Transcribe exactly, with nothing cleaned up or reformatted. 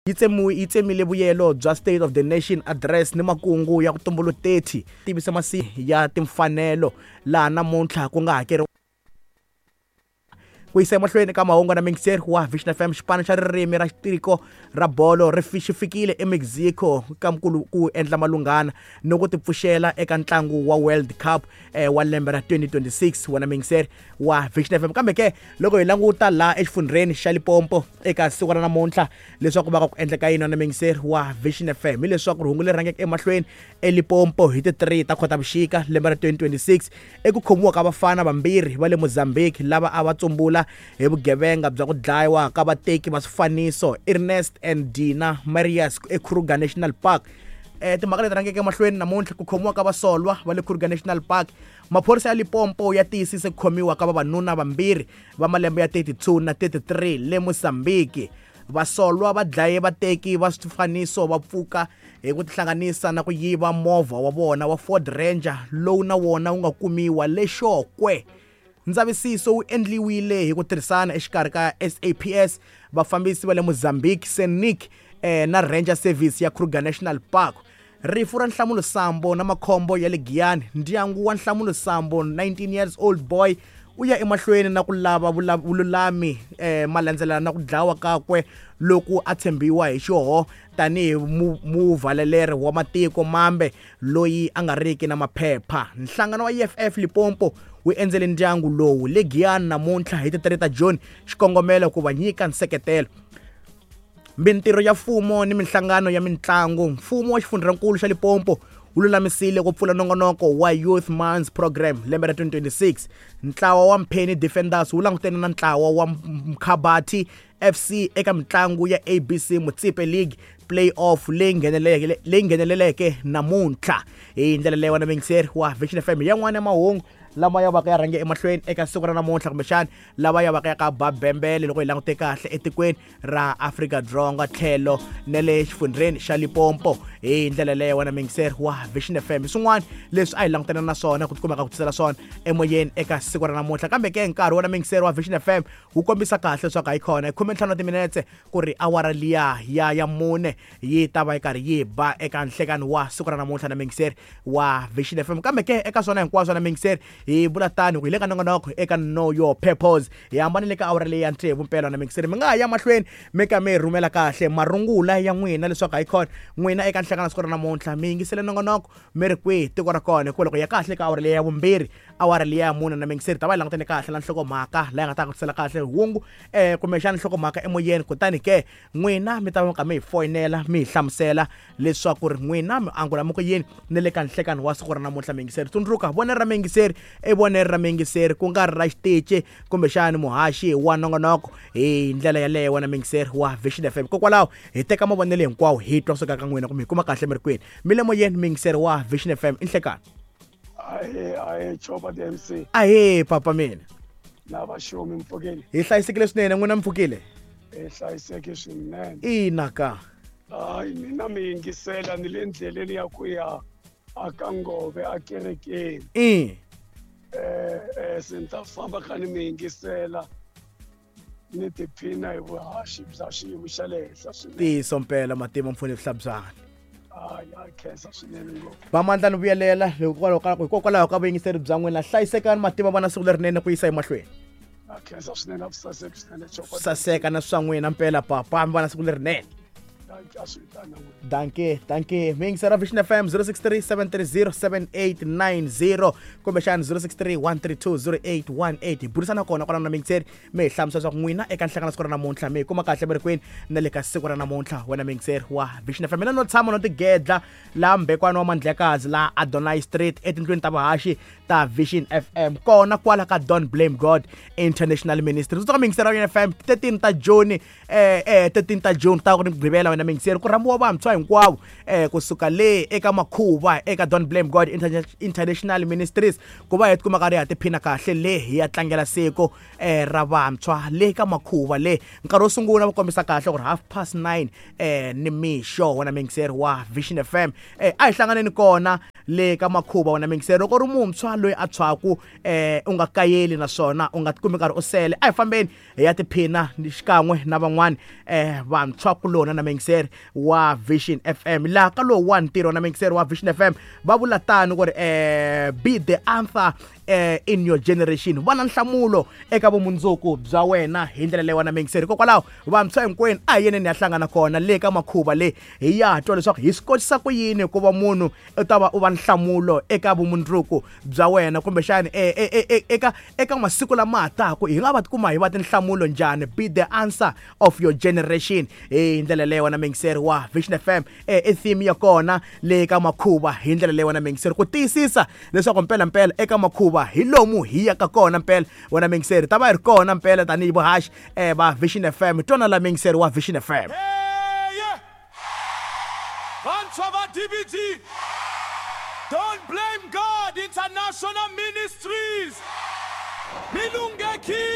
Yi tsemiwe yi tsemile vuyelo bya State of the Nation Address ni makungu ya ku tumbulu thirty tivisa masi ya timfanelo laha namuntlha ku nga hakeriwa. Ku yisa emahlweni ka mahungu na mixer wa Vision F M, xipano xa ririmi ra tiko ra bolo ri fi-, xi fikile eMexico ka mukulu ku endla malunghana ni ku tipfuxela eka ntlangu wa World Cup, eh, wa lembe ra twenty twenty-six wa na mixer wa Vision F M. Kambe ke loko hi languta laha exifundzheni xa Limpopo eka siku ra namuntlha leswaku va ka ku endleka yini na mixer wa Vision F M, hileswaku rihungu leri rhangeke emahlweni eLimpopo hi ti three ta Khotavuxika lembe ra twenty twenty-six eku khomiwa ka vafana vambirhi va le Mozambique lava a va tsumbula hi vugevenga bya ku dlayiwa ka vateki va swifaniso Ernest and Dina Marias eKruger National Park. Eh, timhaka leti rhangeke emahlweni namuntlha ku khomiwa ka vasolwa va le Kruger National Park. Maphorisa ya Limpopo ya tiyisise ku khomiwa ka vavanuna vambirhi va malembe ya thirty-two na thirty-three le Mozambique. Vasolwa va dlaye vateki va swifaniso va pfuka hi ku tihlanganisa na ku yiva movha wa vona wa Ford Ranger lowu na wona wu nga kumiwa le Xokwe. Ndzavisiso wu endliwile hi ku tirhisana exikarhi ka S A P S, vafambisi va le Mozambique, SANIC, eh, na Ranger Service ya Kruger National Park. Rifu ra Nhlamulo Sambo na makhombo ya le Giyani. Ndyangu wa Nhlamulo Sambo, nineteen years old boy, u ya emahlweni na ku lava vula-, vululami, eh, malandzelana na ku dlawa kakwe loku a tshembiwa hi xihoho tanihi mu-, muvaleleri wa matiko mambe loyi a nga riki na maphepha. Nhlangano wa E F F Limpopo wu endzele ndyangu lowu le Giyani namuntlha hi ti three ta June, xikongomelo ku va nyika nseketelo. Mintirho ya mfumo ni minhlangano ya mintlangu. Mfumo wa xifundzankulu xa Limpopo wu lulamisile ku pfula nongonoko wa Youth Month Program lembe ra twenty twenty-six. Ntlawa wa Mpheni Defenders wu langutene na ntlawa wa Mkhabati F C eka mitlangu ya A B C Motsepe League Playoff leyi ngheneleleke, leyi ngheneleleke namuntlha. Hi ndlela leyi wena mixer wa Vision F M yan'wana ya mahungu lama ya vaka ya rhange emahlweni eka siku ra namuntlha, kumbexana lava ya vaka ya ka ba bembele loko hi langute kahle etikweni ra Afrika-Dzonga tlhelo na le xifundzheni xa Limpopo. Hi ndlela leyo wena mixer wa Vision F M, swin'wana leswi a hi langutana na swona ku tikumeka ku tisela swona emoyeni eka siku ra namuntlha. Kambe ke nkarhi wena mixer wa Vision F M wu kombisa kahle leswaku a yi kona hi khume ntlhanu wa timinetse ku ri awara liya ya ya mune yi ta va yi karhi yi ba eka nhlekani wa siku ra namuntlha na mixer wa Vision F M. Kambe ke eka swona hinkwaswo na mixer hi vula tani ku hi le ka nongonoko eka Know Your Purpose, hi hambanile ka awara leyi ya tsevu mpela na mixer. Mi nga ha ya mahlweni mi ka mi rhumela kahle marungula ya n'wina leswaku hayi khona n'wina eka nhlekani siku ra namuntlha mi yingisele nongonoko mi ri kwihi tiko ra kona, hikuva loko ya kahle ka awara leyi ya vumbirhi awara leyi ya mune na mixer ta va yi langutene kahle na nhlokomhaka leyi nga ta ku tisela kahle hungu, eh, kumbexana nhlokomhaka emoyeni. Kutani ke n'wina mi ta va ka mi hi foyinela mi hi hlamusela leswaku ri n'wina mi angula mi ku yini ni le ka nhlekani wa siku ra namuntlha. Miyingiseri, tsundzuka vonelo ra miyingiseri i vonelo ra miyingiseri ku nga ri ra xitichi kumbexana muhaxi wa nongonoko. Hi ndlela yaleyo wena miyingiseri wa Vision F M, hikokwalaho hi teka mavonelo hinkwawo hi twa kusuka ka n'wina kumbe hi kuma kahle mi ri kwini. Mi le moyeni miyingiseri wa Vision F M, i nhlekani. Ahee, ahee, Chopa D M C. Ahee, papa mina. Na vaxomi mpfukile. Hi hlayisekile swinene, n'wina mpfukile? Hi hlayiseke swinene. Ina ka. Hayi, mina mi yingisela ni le ndleleni ya ku ya aka Ngove a kerekeni. I. Eh, eh, se ni ta famba kha ni mi yingisela ni tiphina hi vuhaxi bya xiyimo xa le henhla swinene. Ntiyiso mpela matima mfuni vuhlabyana. Hayi, ha khensa swinene ngopfu. Va mandla ni vuyelela hikwalaho ka, hikokwalaho ka vuyingiseri bya n'wina. Hlayisekani matima va na siku lerinene ku yisa emahlweni. Ha khensa swinene, a swi saseki swinene, Chopa. Saseka na swa n'wina mpela papa, mi va na siku lerinene. Dankie, dankie. Mi yingisela Vision F M zero six three seven three zero seven eight nine zero kumbexana zero six three one three two zero eight one eight. Hi burisana kona kwalano na miyingiseri, mi hi hlamusela leswaku n'wina eka nhlangano siku ra namuntlha mi hi kuma kahle mi ri kwini na le ka siku ra namuntlha wena miyingiseri wa Vision F M. Mina no tshama no tigedla laha Mbekwana wa Mandlekazi laha Adonai Street etindlwini ta vuhaxi ta Vision F M kona kwala ka Don't Blame God International Ministry. Tsundzuka miyingiseri wa Vision F M thirteen ta June, eh, eh, thirteen ta June ta ku ri Mugqivela wena miyingiseri ku rhambiwa vantshwa hinkwavo, eh, kusuka le eka makhuva eka Don't Blame God Interna-, International Ministries ku va hi tikuma karhi ha tiphina kahle le hi ya tlangela siku, eh, ra vantshwa le ka makhuva le. Nkarhi wo sungula va kombisa kahle ku ri half past nine, eh, ni mixo wena miyingiseri wa Vision F M. Eh, a hi hlanganeni kona Le ka makhuva wena mingiseri, loko ri muntshwa loyi a tshwaku eh u nga kayeli naswona u nga tikumi karhi u sele. A hi fambeni hi ya tiphina xikan'we na van'wani eh vantshwa kulona na mingiseri wa Vision F M. Laha ka lowu wa ntirho na mingiseri wa Vision F M va vula tano ku ri eh be the answer eh in your generation, va na nhlamulo eka vumundzuku bya wena hi ndlela leyi wena mingiseri. Hikokwalaho vantshwa hinkwenu a hi yeneni ya hlangana kona le ka makhuva le, hi ya twa leswaku hi swi kotisa ku yini ku va munhu u ta va u va nhlamulo eka vumundzuku bya wena, kumbexani eka eka masiku lama taka hi nga va tikuma hi va tinhlamulo njhani. Be the answer of your generation hi ndlela leyi wena mingiseri wa Vision F M i theme ya kona le ka makhuva hi ndlela leyi wena mingiseri, ku tiyisisa leswaku mpela mpela eka makhuva hi lomu hi yaka kona mpela wena mingiseri, ta va hi ri kona mpela tanihi vuhaxi eh va Vision F M. Twana la mingiseri wa Vision F M. Vantshwa va D B G, Don't Blame God International Ministries, Milungeki.